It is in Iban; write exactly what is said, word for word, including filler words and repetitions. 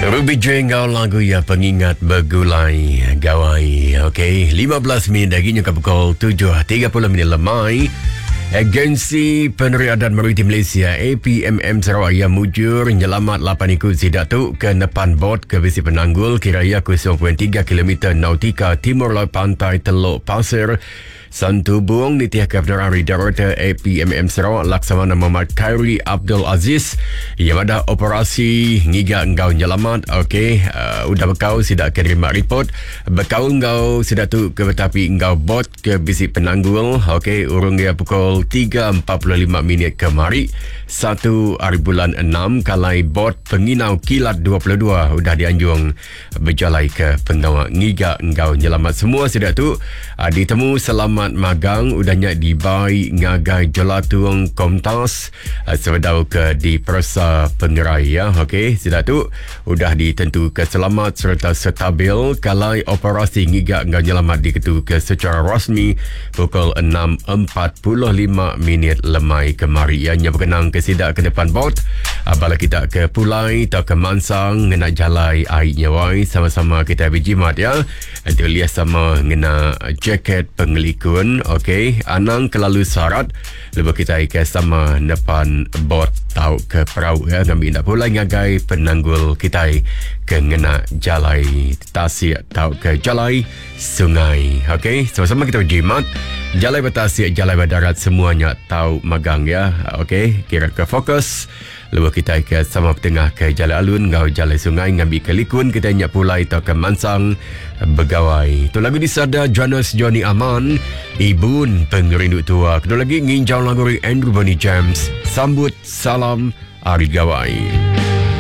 Ruby J ngau lagu ya Pengingat Begulai Gawai. Okey, lima belas minit lagi nyuka pukul tujuh tiga puluh minit lemai. Agensi Peneriadan Maritim Malaysia A P M M Sarawak yang mujur nyelamat lapan ikut sidak tu ke nepan bot ke bisi penanggul kiraya kosong perpuluhan tiga kilometer nautika timur laut pantai Teluk Pasir Santubong. Nitih ke Penerang Director A P M M Sarawak Laksamana Muhammad Khairi Abdul Aziz yang ada operasi ngiga engkau nyelamat. Okey, uh, udah bekau sidak ke terima report bekau engkau sidak tu ke tetapi engkau bot ke bisi penanggul. Okey, urung dia pukul tiga empat puluh lima minit kemari satu hari bulan enam kalai bot penginau kilat dua puluh dua udah dianjung berjalai ke pengawal ngiga engkau nyelamat semua sidak tu uh, ditemu selamat magang udahnya dibai ngagai Jelatung Komtas uh, sebedau ke di Persa Pengerai ya. Okey, sudah tu udah ditentu ke selamat serta stabil kalai operasi ngiga enggau nyelamat diketu ke secara rasmi pukul enam empat puluh lima minit lemai kemari ya. Nya berkenang ke sidak ke depan bot uh, bala kita ke Pulai atau ke Mansang ngena jalai air nyawai sama-sama kita berjimat ya. Nanti lihat sama ngena jaket pengelikun. Okey, anang kelalu syarat lebih kita ke sama depan bot tau ke perahu ya, ngambil nak pulai ngagai penanggul kita ke ngena jalai tasik tau ke jalai sungai. Okey, sama-sama kita berjimat jalai bertasik, jalai berdarat semuanya tau magang ya. Okey, kira ke fokus lebih kita ke sama tengah ke jalai alun ngau jalai sungai ngambil ke likun kita nyak pulai tau ke Mansang begawai. Tu lagu disada Jonas Johnny Aman, Ibun Pengerindu Tua. Kedua lagi nginjau lagu Andrew Bonnie James, Sambut Salam Hari Gawai.